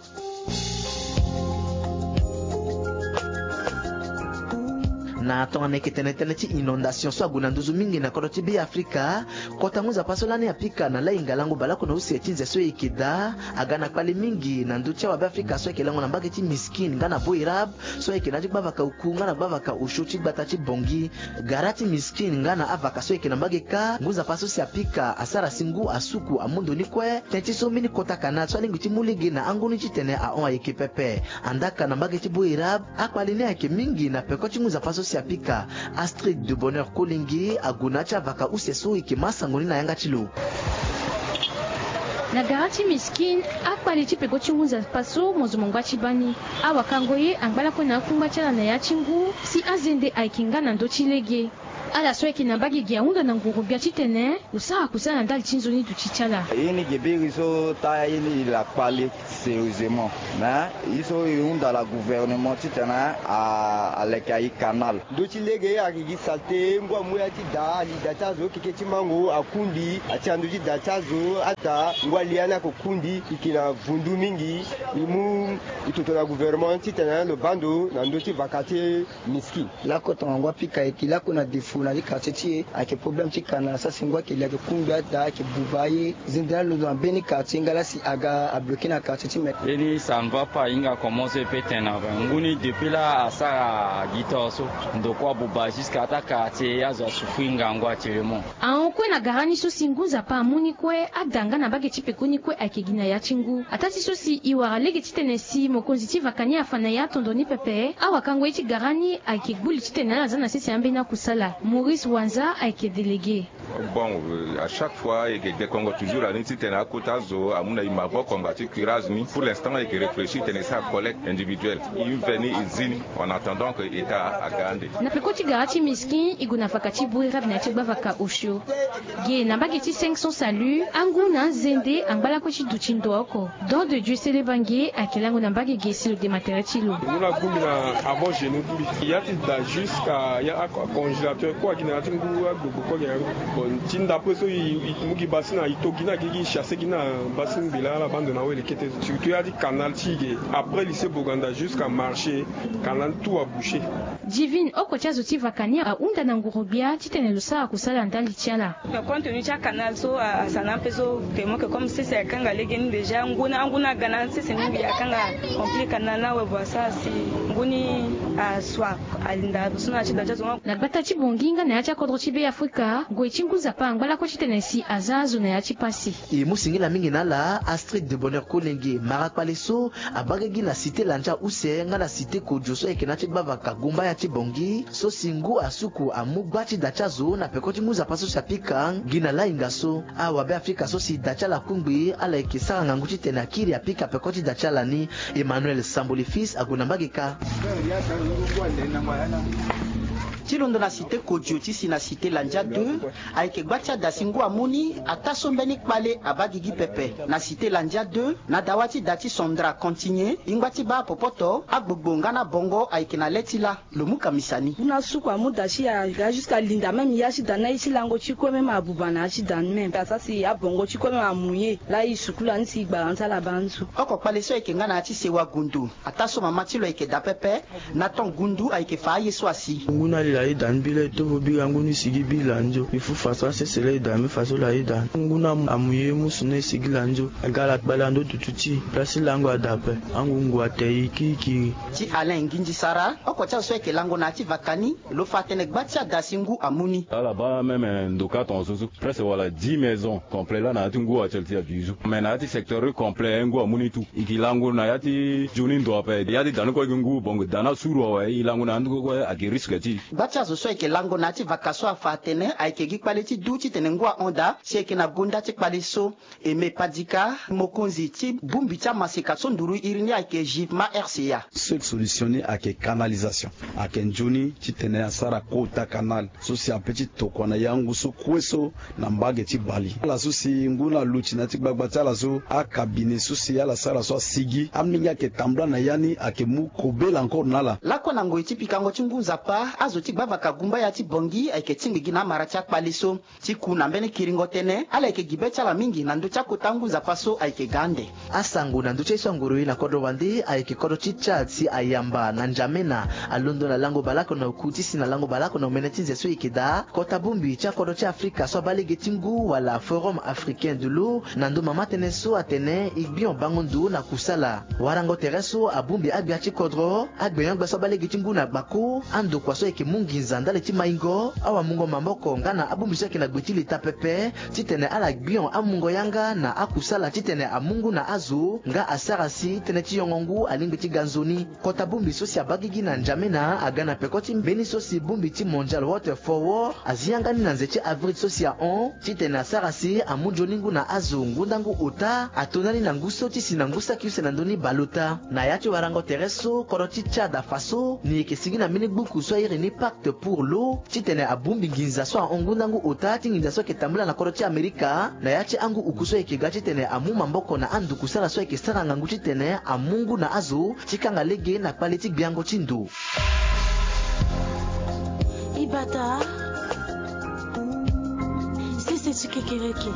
Na tongana eke tene tënë ti inondation so ague na nduzu mingi na kodro ti Be Afrika, kota ngu nzapa so lani apika na lainga lango baleoko na use ti nze so eke daa aga na kpale mingi na ndö ti awabe Afrika so ayeke lango na mbage ti Miskin nga na Boerab, so ayeke na ya ti gbavaka oku nga na gbavaka osio ti gbata ti Bongi. Gara ti Miskin nga na avaka so ayeke na mbage kâ, ngu nzapa so si apika asara si ngu asuku amu ndo ni kue. Teti so mbeni kota kanal so alingbi ti mu lege na anguni titene ahon ayeke pepe. Andaa ka na mbage ti Boerab, akpale ni ayeke mingi na peko ti ngu nzapa so si apika. Astrid de Bonheur Kolenge ague na ya ti avaka use so eke ma sango ni na yanga ti lo. Na gara ti Miskin, akpale ti peko ti ngu nzapa so mo zo mo ngba ti baa ni. Awakango ye angba lakue na akungba ti ala na ya ti ngu, si azende ayeke nga na ndö ti lege. Ala so ayeke na mbage ge ahunda na nguru-gbia titene lo sara kusala na ndali ti nzoni duti ti ala. Ye ni ge biri so taa ye ni e la kpale sérieusement. Mais ye so e hunda la gouvernement titene a, aleke aye canal. Ndö ti lege ayeke gi salte, ngu amu ya ti daa, ali daa ti azo keke ti mango akundi, ati ando ti daa ti azo ada, ngu ali ya ni ako kundi, e yeke na vundu mingi, e mu e toto na gouvernement titene lo baa ndo na ndö ti vaka ti Miskin. Lakue tongana ngu apika ayeke lakue na défaut na ti quartier ti e, ayeke problème ti canal, sara si ngu ayeke li ayeke kungbi ada, ayeke buba aye. Zende laa lo ndo na mbeni quartier nga laa si aga abloqué na quartier ti me. Ye ni ça ne va pas, e hinga commencé peut tene na ngu ni depuis laa asara gi toro so. Ndokua abuba jusqu'à ata quartier, azo asouffrir ngangu actuellement. Ahon kue na gara ni so si ngu nzapa amu ni kue, ada nga na mbage ti peko ni kue ayeke gi na ya ti ngu. Ataa ti so si e wara lege titene si mokonzi ti vaka ni afa na e atondo ni pepe, awakango ye ti gara ni ayeke gbu li titene ala za na sese ambeni akusala. Maurice Wanza ayeke délégué. Bon, euh, à chaque fois e yeke gbekongo toujours na ni titene akota azo amu na e maboko ngba ti curage ni. Pour l'instant e yeke réfléchir titene e sara collecte individuelle, e veni e zi ni en attendant que État aga ande. Na peko ti gara ti Miskin e gue na vaka ti Boerab na ya ti gbavaka osio. Ge na mbage ti cinq cents salut, angu na anzende angba lakue ti duti ndo oko. Don de Dieu Selebange ayeke lango na mbage ge si lo dema tere ti lo. Ngu na gbu mbi na avant genou ti mbi. Ya ti da jusqu'à ya a congélateur kue agi na ya ti ngu agbogbo kue agi na ya. Bon, ti ndapre so e, e mu gi basi na e to gi na gi gi chasse gi na basi ngbela ala baa ndo na wele kete. Surtout ya ti canal ti e ge après lycée Boganda jusqu'à marché, canal tout abouché. Divine, oko ti azo ti vaka ni ahunda na nguru-gbia titene lo sara kusala ndali ti ala. Compte tenu ti acanal so asara na ape so, vraiment que comme sese akanga legeni déjà, ngu na angu na aga na sese mingi akanga remplir canal ni awe, bua asara si ngu ni asua alinda so na ya ti da ti azo. Na gbata ti Bongi nga na ya ti akodro ti Be Afrika, gue ti ngu nzapa angba lakue titene si aza azo na ya ti pasi. E mu singila mingi na ala Astrid de Bonheur Kolenge, mara kpale so abaa gigi na cité Landia use nga na cité Kodio so ayeke na ya ti gbavaka gumbaya ti Bongi, so si ngu asuku amu gba ti da ti azo na peko ti ngu nzapa so si apika gi na lainga so. Awabe Afrika so si da ti ala akungbi, ala yeke sara ngangu titene akiri apika peko ti da ti ala ni. Emmanuel Samboli Fils ague na mbage kâ. Ti londo na cité Kodio ti si na cité Landia deux, ayeke gba ti ada si ngu amu ni, ataa so mbeni kpale abaa gigi pepe. Na cité Landia deux, na dawa ti da ti Sandra Continue, e ngba ti baa popoto, agbogbo nga na bongo ayeke na le ti lâ. Lo mu kamisa ni. Ngu na suku amu da ti ya, ya jusqu'à linda même ya ti da ni na ye ti lango ti kue même abuba na ya ti da ni même. Asara si abongo ti kue même amouillé. Laa e sukula ni si e gbara ni ti ala baa ni so. Oko kpale so ayeke nga na ya ti sewa gundu. Ataa so mama ti lo ayeke daa pepe, na ton gundu ayeke fa aye so asi. Ngu na li la ye da ni bi la e tovo bira ngu ni sigi bi la nzo. E fu fa so asese la e da ni bi fa so la ye da ni. Ngu na amouillé musu na e sigi la nzo. Aga ala kpale na ndö dutu ti e. Place ti lango ada ape. Angungu ate e kiri kiri. Ti Alain Nginzi Sara, oko ti azo so ayeke lango na ya ti vaka ni, lo fa atene gba ti ada si ngu amu ni. Ala baa même ndo kâ tongaso so. Presque wala dix maisons complet laa na ya ti ngu actuel ti aduizu. Mais na ya ti secteur complet ngu amu ni tout. E ke lango na ya ti nzoni ndo ape. Ya ti da ni kue gi ngu bongo da ni asuru awe, e lango na ya ti ngu kue ayeke risque ti e. Gba ti azo so ayeke lango na ya ti vaka so afa atene ayeke gi kpale ti du titene ngu ahon daa, si ayeke na gonda ti kpale so. Aimé Padika, mokonzi ti bongbi ti amaseka so nduru iri ni ayeke Givma R C A. Seule solution ni ayeke canalisation. Ayeke nzoni titene asara kota canal so si ape ti tokua na ya ngu so kue so na mbage ti bale. Ala so si ngu na luti na ya ti gbagba ti ala so, acabinet so si ala sara so asigi, amolenge ayeke tambula na ya ni, ayeke mu kobela encore na ala. Lakue na ngoi ti pikango ti ngu nzapa, azo ti Gbavaka gumba ya ti Bangui ayeke tingbi gi na amara ti akpale so. Ti ku na mbeni kiringo tënë, ala yeke gi be ti ala mingi na ndö ti akota ngu nzapa so ayeke ga ande. Asango na ndö ti aye so angoro e na kodro wande ayeke kodro ti Tchad si ayamba na N'Djamena alondo na lango baleoko na oku ti si na lango baleoko na omene ti nze so e yeke daa kota bongbi ti akodro ti Afrika so abaa lege ti ngu wala Forum Africain de l'eau na ndö mama tënë so atene e gbion bango ndo na kusala. Warango tere so abongbi agbia ti kodro, agbenyo-agbe so abaa lege ti ngu na gbako, andokua so ayeke mu nginza ndali ti maingo, awamungo maboko nga na abongbi so ayeke na gbe ti leta pepe titene ala gbion amungo yanga na akusala titene amu ngu na azo nga asara si tënë ti yongo ngu alingbi ti ga nzoni. Kota bongbi so si abaa gigi na N'Djamena aga na peko ti mbeni so si bongbi ti Mondial Water Forward azi yanga ni na nze ti avril so si ahon titene asara si amu nzoni ngu na azo ngu ndangu ota ato ndani na ngu so ti si na ngu saki use na ndö ni baleota. Na ya ti warango tere so kodro ti Tchad afa so ni yeke sigi na mbeni gbuku so airi ni Pacte pour l'eau titene abongbi nginza so ahon ngu ndangu ota ti nginza so ayeke tambula na kodro ti Amerika na ya ti angu uku so ayeke ga titene amu maboko na andukusala so ayeke sara ngangu titene amu ngu na azo ti kanga lege na kpale ti gbiango ti ndo. Ibata, sese ti kekereke.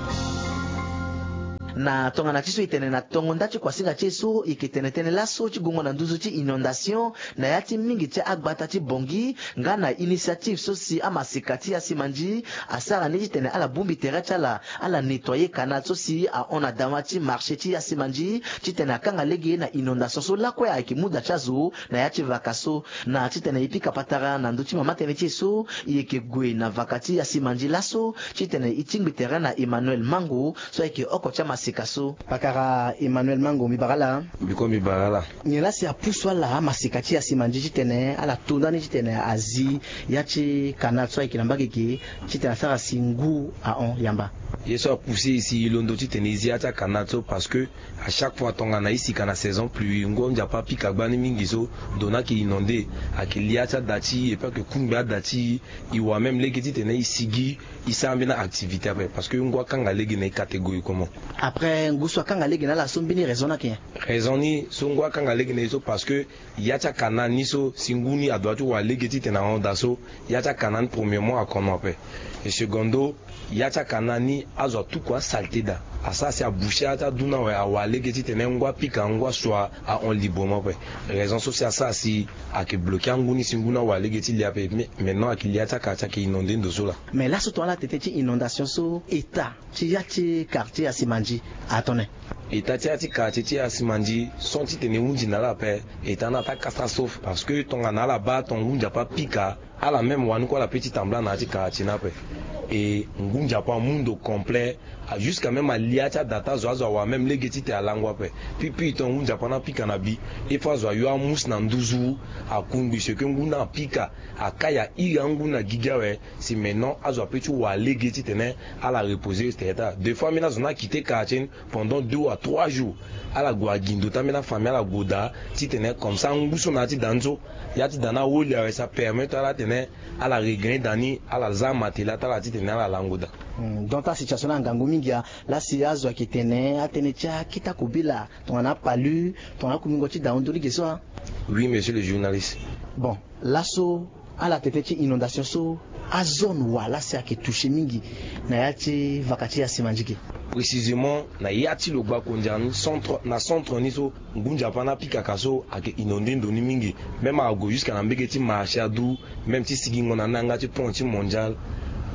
Na tongana ti so e tene na tongo nda ti kuasinga ti e so, e yeke tene tënë laso ti gongo na nduzu ti inondation na ya ti mingi ti agbata ti Bangui nga na initiative so si amaseka ti Yasimandi asara ni titene ala bongbi tere ti ala, ala nettoyer canal so si ahon na dama ti marché ti Yasimandi titene akanga lege na inondation so lakue ayeke mu da ti azo na ya ti vaka so. Na titene e pika patara na ndö ti mama tënë ti e so, e yeke gue na vaka ti Yasimandi laso titene e tingbi tere na Emmanuel Mango so ayeke oko ti amaseka so. Pakara Emmanuel Mango, mbi bara ala. Mbi kue mbi bara ala. Nyen la si apusu ala amaseka ti Yasimandi titene ala to ndani titene azi ya ti canal so ayeke na mbage ge titene asara si ngu ahon yamba? Ye so apusu e si e londo titene e zi ya ti acanal so parce que à chaque fois tongana e sika na saison pluie, ngu nzapa apika gbani mingi so, ndo ni ayeke inondé, ayeke lia ti ada ti e et puis ayeke kungbi ada ti e. E wa même lege titene e sigi e sara mbeni activité ape parce que ngu akanga lege na e catégoriquement. Après ngu so akanga lege na ala so, mbeni raison ni ayeke nyen? Raison ni so ngu akanga lege na e so parce que ya ti acanal ni so si ngu ni adoit ti wara lege titene ahon daa so, ya ti acanal ni premièrement akono ape. Et secondo, ya ti acanal ni azo atuku asalté daa, asara si aboucher ya ti adu ni awe, awara lege titene ngu apika, ngu asua ahon librement ape. Raison so si asara si ayeke bloquer angu ni si ngu ni awara lege ti lia ape. Mais maintenant ayeke lia ti acanal ti ayeke inondé ndo so laa. Mais laso tongana ala tete ti inondation so, état ti ya ti quartier Yasimandi atene? État ti ya ti quartier ti Yasimandi, sans titene e hunzi na ala ape, état ni ataa catastrophe parce que tongana ala baa atonga ngu nzapa apika, ala même wani kue ala pe ti tambula na ya ti quartier ni ape. E ngu nzapa amu ndo complet, a jusqu'à même alia ti ada ti azo, azo awa même lege titene alango ape. Puis puis tongana ngu nzapa ni apika na bi, il faut azo ayo amusu na nduzu, akungbi ce que ngu ni apika, akai airi angu ni na gigi awe. Si maintenant azo ape ti wara lege titene ala reposer tere ti ala. Des fois ambeni azo ni akite quartier ni pendant deux à trois jours, ala gue agindo ti ambeni afamille, ala gue daa titene comme ça ngu so na ya ti da ni so, ya ti da ni aholi awe, ça permettre ala titene ala regagner da ni, ala za amatela ti ala titene ala lango daa. Hmm, donc ta situation ni angangu mingi a, la si azo ayeke tene atënë ti akita kobela tongana apalu, tongana akumingo ti da ahon ndoni ge so a. Oui monsieur le journaliste. Bon, laso ala tete ti inondation so, azone wa la si ayeke toucher mingi na ya ti vaka ti Yasimandi ge? Précisément na ya ti lo gbakondia ni, centre, na centre ni so, ngu nzapa ni apikaka so ayeke inondé ndo ni mingi. Même ague jusqu'à na mbege ti marché adu, même ti sigingo na ni na yanga ti pont ti Mondial,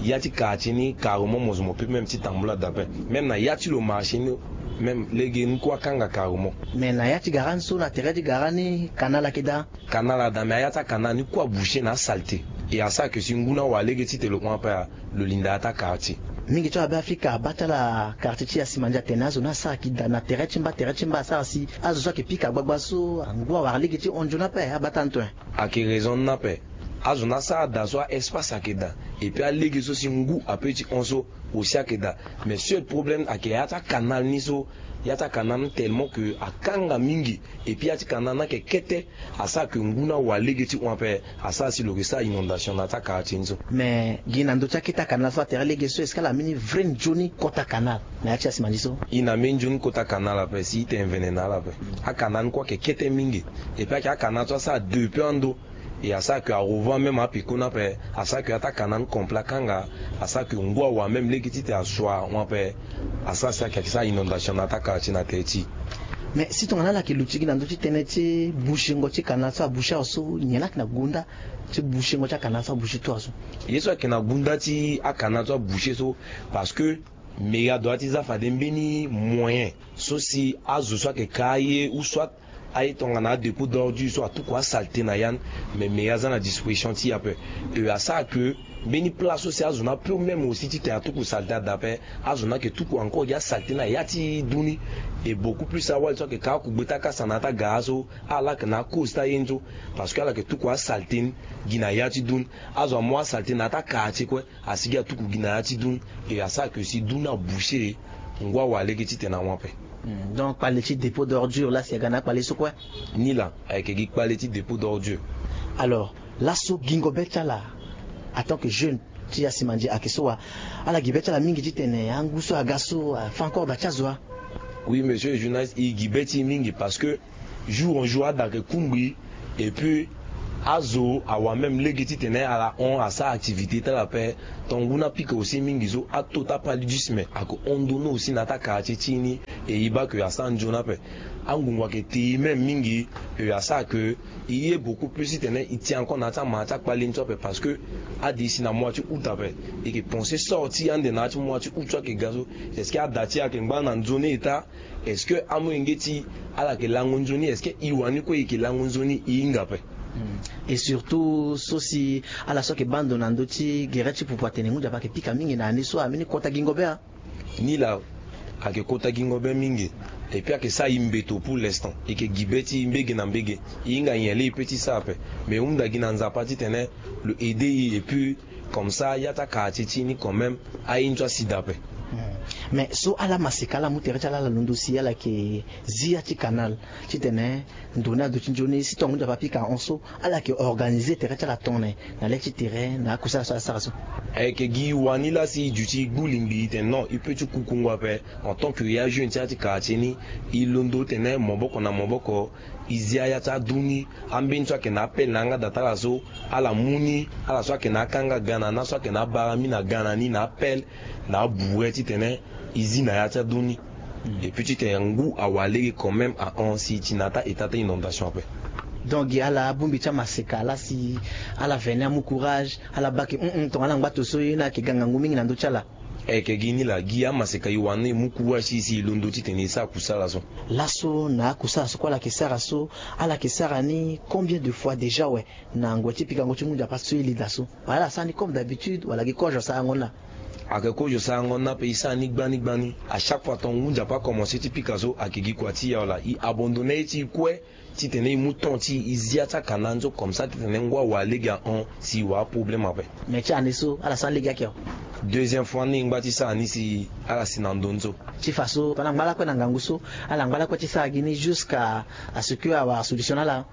ya ti quartier ni carrément mo zo mo pe même ti tambula daa ape. Même na ya ti lo marché ni, même lege ni kue akanga carrément. Mais na ya ti gara ni so, na tere ti gara ni, canal ayeke daa? Canal ada, mais aya ti acanal ni kue aboucher na asalté. E asara ke si ngu ni awara lege titene lo hon ape, lo linda aya ti aquartier. Mingi ti awabe afrika abaa ti ala quartier ti Yasimandi atene azo ni asara ki da na tere ti mba, tere ti mba asara si azo so ayeke pika gbagba so, ngu awara lege ti hon nzoni ape, abaa ti ala ni tongana? Ayeke raison ni ape. Azo ni asara da so, a espace ayeke da. Et puis alege so si ngu ape ti hon so aussi ayeke da. Mais seul problème ayeke ya ti acanal ni so, ya ti acanal ni tellement que akanga mingi. Et puis ya ti canal ni ayeke kete, asara ke ngu ni awara lege ti hon ape, asara si lo yeke sara inondation na ya ti aquartier ni so. Mais gi na ndö ti akete acanal so, atere lege so, est-ce que ala mbeni vrai nzoni kota canal na ya ti Yasimandi so? E na mbeni nzoni kota canal ape si e tene mvene na ala ape. Acanal ni kue ayeke kete mingi. Et puis ayeke acanal so asara depuis ando. Et asara ke arevoir même apeko ni ape, asara ke ata kana ni complet akanga, asara ke ngu awa même lege titene asua hon ape. Asara si ayeke sara inondation na ata quartier na tere ti e. Mais si tongana ala yeke luti gi na ndö ti tënë ti bouchengo ti canal so aboucher awe so, nyen la yeke na gunda ti bouchengo ti acanal so aboucher tout awe so? Ye so ayeke na gunda ti acanal so aboucher so, parce que mairie adoit ti za fade mbeni moyen so si azo so ayeke ka aye ou soit aye tongana adépôt d'ordure so atuku asalté na ya ni. Mais mairie aza na disposition ti e ape. E asara ke mbeni place so si azo ni apeut même aussi titene atuku salté ada ape, azo ni ayeke tuku encore gi asalté na ya ti dun ni. Et beaucoup plus awali so ayeke ka akugbe ti akasa na ya ti agara so, ala yeke na cause ti aye ni so. Parce que ala yeke tuku asalté ni gi na ya ti dun ni. Azo amu asalté na ya ti akartier kue, asigi atuku gi na ya ti dun ni. E asara ke si dun ni aboucher, ngu awa lege titene ahon ape. Hmm, donc kpale ti dépôt d'ordure la si aga na akpale so kue? Ni la, ayeke gi kpale ti dépôt d'ordure. Alors, laso gingo be ti ala en tant que jeune ti asimandi ayeke so wa? Ala gi be ti ala mingi titene angu so aga so afa encore da ti azo wa? Oui, monsieur le journaliste, e gi be ti e mingi parce que jour en jour ada ayeke kungbi. Et puis azo awa même lege titene ala hon asara activité ti ala ape. Ton ngu ni apika aussi mingi so ato ti apaludisme ayeke hon ndoni aussi na ya ti akartier ti e ni. Et e baa ke asara nzoni ape. Angungu ayeke te e même mingi. E asara ke e ye beaucoup plus titene e ti encore na ya ti ama ti akpale ni so ape parce que ade e si na mois ti août ape. E yeke pensé sorti ande na ya ti mois ti août so ayeke ga so. Est-ce que ada ti e ayeke ngba na nzoni eta? Est-ce que amolenge ti e ala yeke lango nzoni? Est-ce que e wani kue e yeke lango nzoni? E hinga ape. Hmm. Et surtout so si ala so ayeke baa ndo na ndö ti gere ti pupu atene ngu nzapa ayeke pika mingi na ya ni so, ambeni kota gingo be a? Ni la, ayeke kota gingo be mingi. Et puis ayeke sara e mbeto pour l'instant. E yeke gi be ti e mbege na mbege. E hinga nyen laa e peut ti sara ape. Mais e hunda gi na Nzapa titene lo aider e et puis comme ça ya ti akartier ti e ni quand même aye ni so asi daa ape. Hmm. Mais so ala maseka ala mu tere ti ala ala londo si ala yeke zi ya ti canal titene ndo ni ado ti nzoni si tonga ngu nzapa apika ahon so, ala yeke organiser tere ti ala tongana nyen na le ti tere na akusala so ala sara so? Ayeke gi e wani laa si e duti e gbu lingbi e tene non, e peut ti kukungu ape en tant que ya jeune ti ya ti quartier ni. E londo tene maboko na maboko e zia ya ti adu ni. Ambeni so ayeke na apele na yanga da ti ala so, ala mu ni. Ala so ayeke na akanga ga na ni, ala so ayeke na abarami na ga na ni na apele na abure titene e zi na ya ti adu ni. Hmm. Et puis titene ngu awa lege quand même ahon si e ti na ata eta ti inondation ape. Donc gi ala abongbi ti amaseka laa si ala veni amu courage, ala baa ke hum hum tongana ala ngba to so ye ni ayeke ga ngangu mingi na ndö ti ala. Ayeke gi ni la, gi amaseka e wani e mu courage si e si e londo titene e sara kusala so. Laso na akusala so kue ala yeke sara so, ala yeke sara ni combien de fois déjà awe? Na ngoi ti pikango ti ngu nzapa so e li daa so, wala ala sara ni comme d'habitude wala gi kozo asarango ni laa? Ayeke kozo asarango ni laa mpe e sara ni gbani gbani. À chaque fois tonga ngu nzapa akomanse ti pika so ayeke gi kua ti e awe laa, e abandonner ye ti e kue. Titene e mu temps ti e e zi ya ti akana ni so comme ça titene ngu awa lege ahon si e wara aproblème ape. Mais ti année so ala sara lege ake awe. Deuxième fois ni e ngba ti sara ni si ala si na ndo ni so. Ti fa so tongana angba lakue na ngangu so, ala ngba lakue ti sara gi ni jusqu'à à ce que awara solution na ala?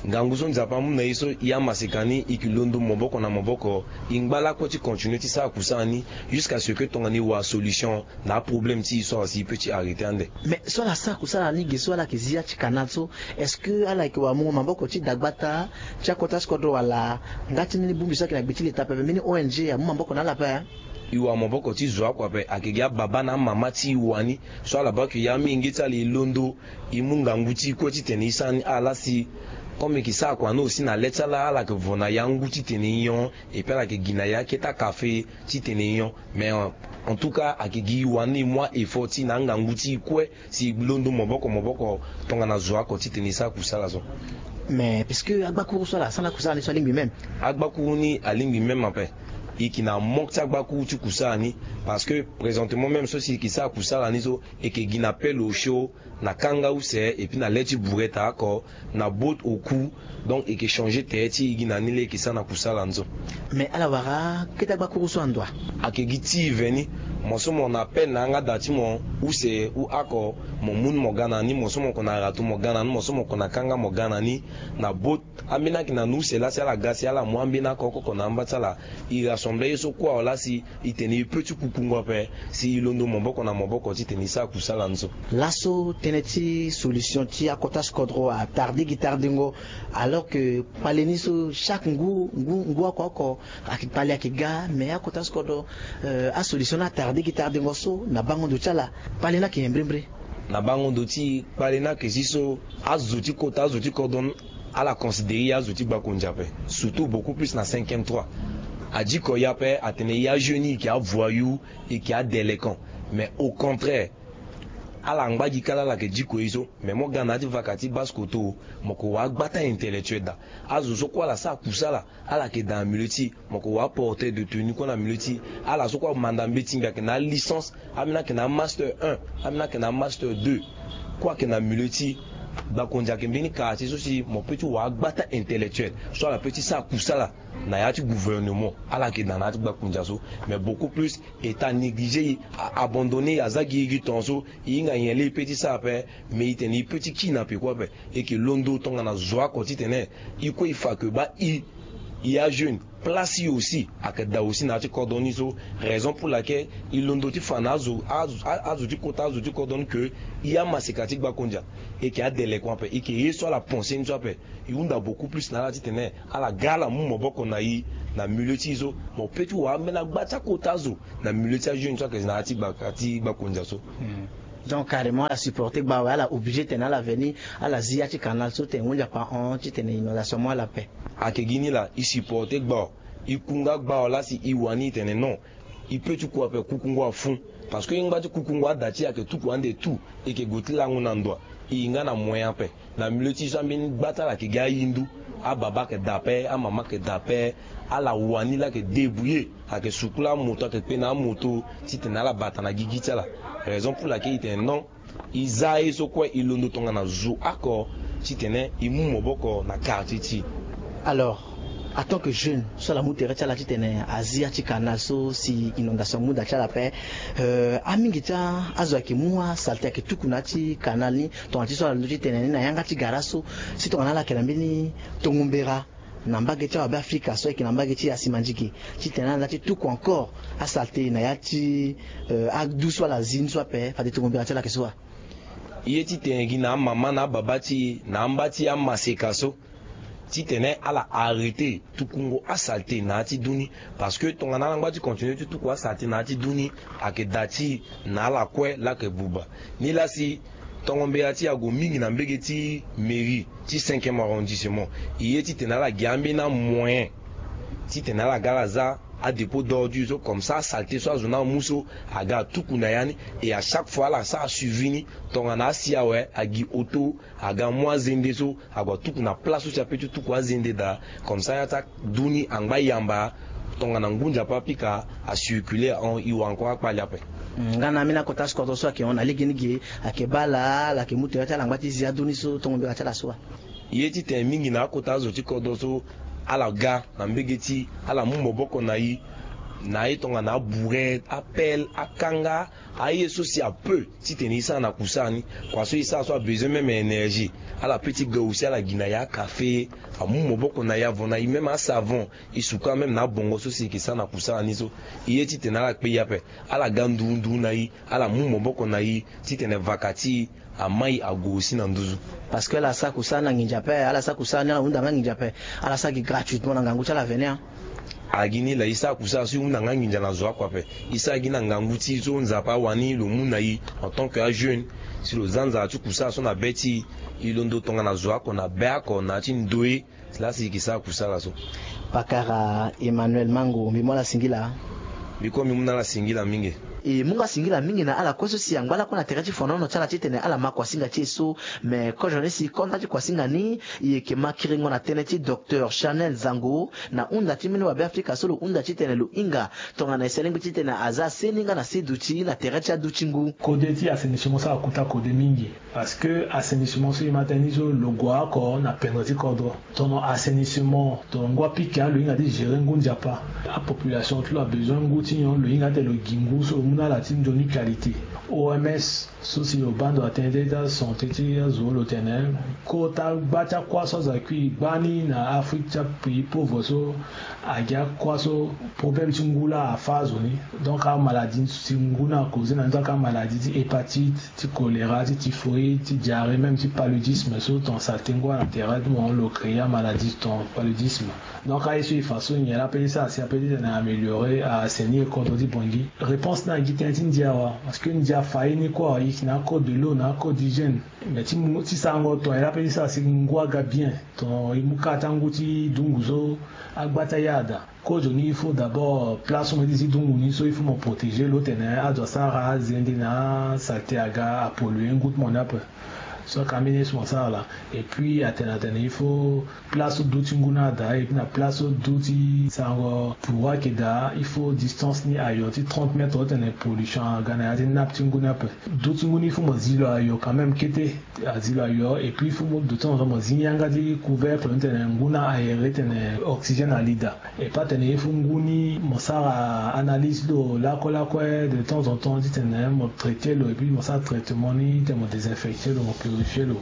Ngangu so nzapa amu na e so, e amaseka ni e yeke londo maboko na maboko. E ngba lakue ti continuer ti sara kusala ni jusqu'à ce que tongana e wara solution na aproblème ti e so awa si e peut ti arrêter ande. Mais so ala sara kusala ni ge so ala yeke zi ya ti canal so, est-ce que ala yeke wara mungo maboko ti dagbata ti akota ti kodro wala nga ti mbeni bongbi so ayeke na gbe ti leta pepe, mbeni O N G amu maboko na ala ape? E wara maboko ti zo akua ape. Ayeke gi ababa na amama ti e wani so ala baa ke ya amolenge ti ala e londo, e mu ngangu ti e kue titene e sara ni. Ala si comme e yeke sara kua ni aussi na le ti ala, ala yeke vo na ya ngu titene e hon. Et puis ala yeke gi na ya akete akafe titene e hon. Mais en tout cas ayeke gi e wani e mu a-effort ti e na angangu ti e kue si e londo maboko maboko tongana zo oko titene e sara kusala so. Mais puisque agbakuru so ala sara na kusala ni so alingbi même? Agbakuru ni alingbi même ape. E yeke na manque ti agbakuru ti kusala ni. Parce que présentement même so si e yeke sara kusala ni so, e yeke gi na pelle osio, na kanga use, et puis na le ti bureta oko, na botte au cou. Donc e yeke changer tere ti e gi na ni laa e yeke sara na kusala ni so. Mais ala wara kete agbakuru so ando wa? Ayeke gi ti e veni. Mo so mo na appel na yanga da ti mo use u oko, mo mu ni mo ga na ni, mo so mo ko na ratu mo ga na ni, mo so mo ko na kanga mo ga na ni. Na bo ambeni ayeke na ni use laa si ala ga si ala mu ambeni oko oko na amba ti ala. E rassemble ye so kue awe laa si e tene e peut ti kukungo ape si e londo maboko na maboko titene e sara kusala ni so. Laso tënë ti solution ti akota si kodro atarde gi tardengo, alors que kpale ni so chaque ngu ngu ngu oko oko ayeke kpale ayeke ga, mais akota si kodro, euh, asolution ni atarde gi tardengo so na bango ndo ti ala. Kpale ni ayeke nyen mbrembre? Na bango ndo ti kpale ni ayeke si so azo ti kota azo ti kodro ni ala considérer ye azo ti gbakonzi ape, surtout beaucoup plus na cinquième trois. Adiko ye ape atene ye ajeune e yeke avoyou, e yeke adélinquant. Mais au contraire, ala ngba gi kala ala yeke diko ye so. Mais mo ga na ya ti vaka ti base koto, mo ko wara gbata intellectuel daa. Azo so kue ala sara kusala ala yeke daa na milieu ti e. Mo ko wara porteur de tenue kue na milieu ti e. Ala so kue amanda mbeti mbi ayeke na alicence, ambeni ayeke na amaster un, ambeni ayeke na amaster deux. Kue ayeke na milieu ti e. Gbakonzi ayeke mbeni quartier so si mo peut ti wara gbata intellectuel so ala peut ti sara kusala na ya ti gouvernement. Ala yeke daa na ya ti gbakonzi so. Mais beaucoup plus e ta négliger e, a abandonner e, aza gi e gi tongaso e hinga nyen laa e peut ti sara ape. Mais e tene e peut ti kiri na peko ape. E yeke londo tongana zo oko titene e kue e fa ke baa e, e ajeune, place e aussi ayeke daa aussi na ya ti kodro ni so. Raison pour laquelle e londo ti fa na azo, azo, a- azo ti kota azo ti kodro ni ke e amaseka ti gbakonzi, e yeke adélinquant ape, e yeke ye so ala pensé ni so ape. E hunda beaucoup plus na ala titene ala ga ala mu maboko na e na milieu ti e so. Mo peut ti wara ambeni agba ti akota azo na milieu ti ajeune so ayeke na ya ti gba- ti gbakonzi so. Donc carrément ala supporter gba awe, ala obligé tene ala veni ala zi ya ti canal so tene ngu nzapa ahon titene inondation amu ala ape. Ayeke gi ni laa, e supporter gba awe, e kunga gba awe laa si e wani e tene non, e peut ti ku ape, kukungo afu. Parce que e ngba ti kukungo ada ti e ayeke tuku ande tout, e yeke gue ti lango na ndo, e yeke nga na moyen ape. Na milieu ti e so ambeni gba ti ala yeke gi ahindu, ababa ayeke daa ape, amama ayeke daa ape. Ala wani laa ayeke débrouiller, ayeke sukula amoto, ayeke kpe na amoto titene ala bata na gigi ti ala. Raison pour laquelle e tene non, e za ye so kue e londo tongana zo oko titene e mu maboko na quartier ti e. Alors, en tant que jeune so ala mu tere ti ala titene azi ya ti canal so si inondation amu da ti ala ape, euh, amingi ti azo ayeke mu asalte ayeke tuku na ya ti canal ni. Tongana ti so ala londo ti tene ni na yanga ti gara so, si tongana ala yeke na mbeni tongo mbera na mbage ti awabe afrika so ayeke na mbage ti asi mandiki, titene ala na ya ti tuku encore asalte na ya ti, euh, adu so ala zi ni so ape, fade tongo mbera ti ala ayeke so wa? Ye titene gi na amama na ababa ti e na amba ti amaseka so, titene ala arrêter tukungo asalte na ya ti du ni. Parce que tongana ala ngba ti continuer ti tuku asalte na ya ti du ni, ayeke daa ti e na ala kue laa ayeke buba. Ni laa si tongo mbela ti e ague mingi na mbege ti mairie ti cinquième arrondissement, e ye titene ala gi ambeni amoyen titene ala ga ala za adépôt d'ordure so, comme ça asalte so azo ni amu so aga atuku na ya ni. Et à chaque fois ala sara suivi ni, tongana asi awe agi auto aga amu azende so ague atuku na place so si ape ti tuku azende daa. Comme ça ya ti adu ni angba yamba, tongana ngu nzapa apika acirculer ahon, e wara encore akpali ape. Nga na ambeni akota ti kodro so ayeke hon na legeni ge, ayeke baa ala, ala yeke mu tere ti ala angba ti zi adu ni so, tongo mbela ti ala so wa? Ye titene mingi na akota azo ti kodro so ala ga na mbege ti e, ala mu maboko na e na aye tongana abure, apelle, akanga, aye so si apeu titene e sara na kusara ni. Kua so e sara so abezoin même énergie, ala peut ti ga aussi ala gi na e akafe, amu maboko na e, avon na e même asavon, e suka même na abongo so si e yeke sara na kusara ni so. E ye titene ala kpe e ape, ala ga nduru nduru na e, ala mu maboko na e titene vaka ti e amai ague aussi na nduzu. Parce que ala sara kusara ni na nginza ape, ala sara kusara ni ala hunda nga nginza ape, ala sara gi gratuitement na ngangu ti ala vene, hein. Agi ni laa, e sara kusara so e hunda nga nginza na zo oko ape. E sara gi na ngangu ti e so Nzapa awani lo mu na e en tant que ajeune, si lo za nzara ti kusara so na be ti e, e londo tongana zo oko na be oko na ya ti ndoye. Laa si e yeke sara kusala so. Pakara Emmanuel Mango, mbi mu ala singila. Mbi kue mbi mu na ala singila mingi. E mu nga singila mingi na ala kue so si angba lakue na tere ti fonono ti ala titene ala ma kuasinga ti e so. Me kozo ni si konda ti kuasinga ni, e yeke ma kiringo na tënë ti docteur Chanel Zango, na hunda ti mbeni wabe Afrika so lo hunda titene lo hinga tongana ese lingbi titene aza seni nga na se duti na tere ti aduti ngu. Kode ti assainissement so akuta kode mingi. Parce que assainissement so e ma tënë ni so lo gue oko na pendre ti kodro. Tono assainissement, tono ngu apike alo hinga ti gérer ngu Nzapa. Apopulation ti lo abezoin ngu ti nyon, lo hinga ti lo gi ngu so lo mu na ala ti nzoni qualité. O M S so si lo baa ndo atene ti asanté ti azo lo tene, kota gba ti akua so azo akui gba ni na Afrique ti apays pauvre so, agi akua so problème ti ngu laa afâ azo ni. Donc amaladie ti ngu ni a causer na ni, donc amaladie ti hépatite, ti choléra, ti typhoïde, ti diarrhée, même ti paludisme so ton saleté ngu na tere ti mo lo créer amaladie ton paludisme. Donc aye so e fa so nyen la peut ti sara si a peut ti tene améliorer assainir kodro ti Bangui? Réponse ni agi tënë ti ndia wa, parce que ndia fa ye ni kue awa, e yeke na acode de l'eau na acode d'hygiène. Mais ti mu ti sarango ton nyen la peut ti sara si ngu aga bien, ton e mu kâ ti angu ti dungu so agba ti aya ada. Kozo ni il faut d'abord place so mo ye ti zi dungu ni so il faut mo protéger lo tene azo asara azende na asaleté aga apolluer ngu ti mo ni ape. So aka mbeni ye so mo sara laa. Et puis atene atene il faut place so du ti ngu ni ada, et puis na place so du ti sarango pourquoi ayeke daa, il faut distance ni ayo ti trente mètres titene pollution aga na ya ti nappe ti ngu ni ape. Du ti ngu ni il faut mo zi lo ayo quand même kete. Azi lo ayo, et puis il faut mo de temps en temps mo zi yanga ti couvercle titene ngu ni aéré titene oxygène ali daa. Et pas tene il faut ngu ni mo sara analyse lo lakue lakue de temps en temps titene mo traiter lo, et puis mo sara traitement ni titene mo désinfecter lo, mo purifier lo.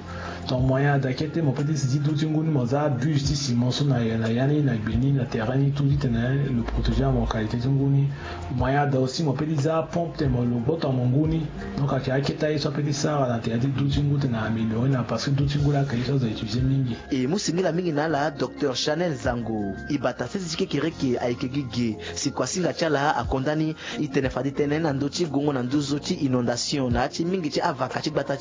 Donc moyen ada kete mo peut ti zi du ti ngu ni mo za buse ti ciment so na ya, na ya ni na gbe ni na terrain ni tout titene lo protéger amortalité ti ngu ni. Moyen ada aussi mo peut ti za pompe titene mo lo gboto na mo ngu ni. Donc ayeke akete aye so a peut ti sara na tere ti du ti ngu titene améliorer na, parce que du ti ngu laa ayeke ye so azo utiliser mingi. E mu singila mingi na ala docteur Chanel Zango. E bata sese ti kekereke ayeke gi ge si kuasinga ti ala akonda ni. E tene fade tënë na ndö ti gongo na nduzu ti inondation na ya ti mingi ti avaka ti gbata